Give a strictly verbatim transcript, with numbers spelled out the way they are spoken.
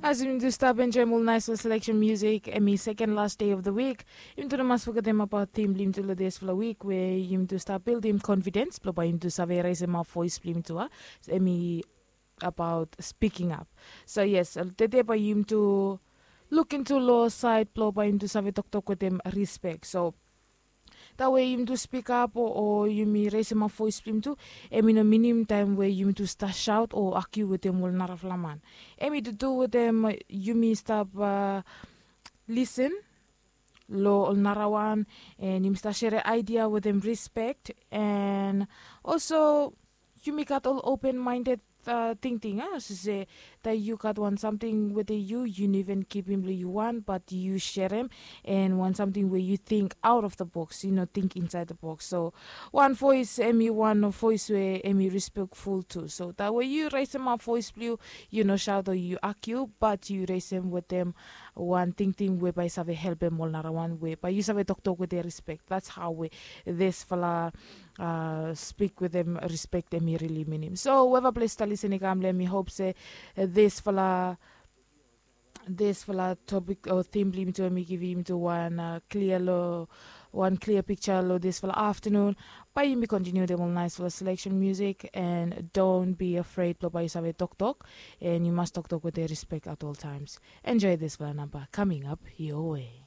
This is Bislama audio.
As yumi tu stap enjoim ol naisfala seleksen musik, em i seken las dei of the wik, yumi tu no mas fogetem abaot tim blong yumi tu long disfala wik we yumi tu stap bildim konfidens blong bae yumi tu save resemap voes blong yumi tu a, em i abaot spiking ap. So yes, tede bae yumi tu luk intu long saed blong bae yumi tu save toktok wetem rispek. So tawe yumi tu spikap o yumi resemap voes blong yumi tu, em i no minim taem we yumi tu stap saot o akiu wetem ol narafala man. Em i tu tu wetem yumi stap lisen long ol narawan, en yumi stap sere aidia wetem rispek, en olso yumi gat ol open maended tingting a, olsem se taem yu gat wan samting wetem yu, yu no even kipim long yu wan, bat yu serem, en wan samting we yu ting aot of the boks, yu no ting insaed the boks. So wan voes em i wan voes we em i respekful tu. So tawe yu resemap voes blong yu, yu no saot o yu akiu, bat yu resem wetem wan tingting we bae save helpem ol narawan, we bae yu save toktok wetem rispek. That's how we disfala spik wetem rispek em i rili minim. So weva ples ta lisen i kam long em, mi hop se disfala disfala topik o tim blong yumi tu em i givim yumi tu wan klia long wan klia piksa long disfala aftanun. Bae yumi kontiniu wetem ol naisfala seleksen musik, en don't be afraid blong bae yu save toktok, en yu mas toktok wetem rispek at ol taems. Enjoy disfala namba kaming ap yowe.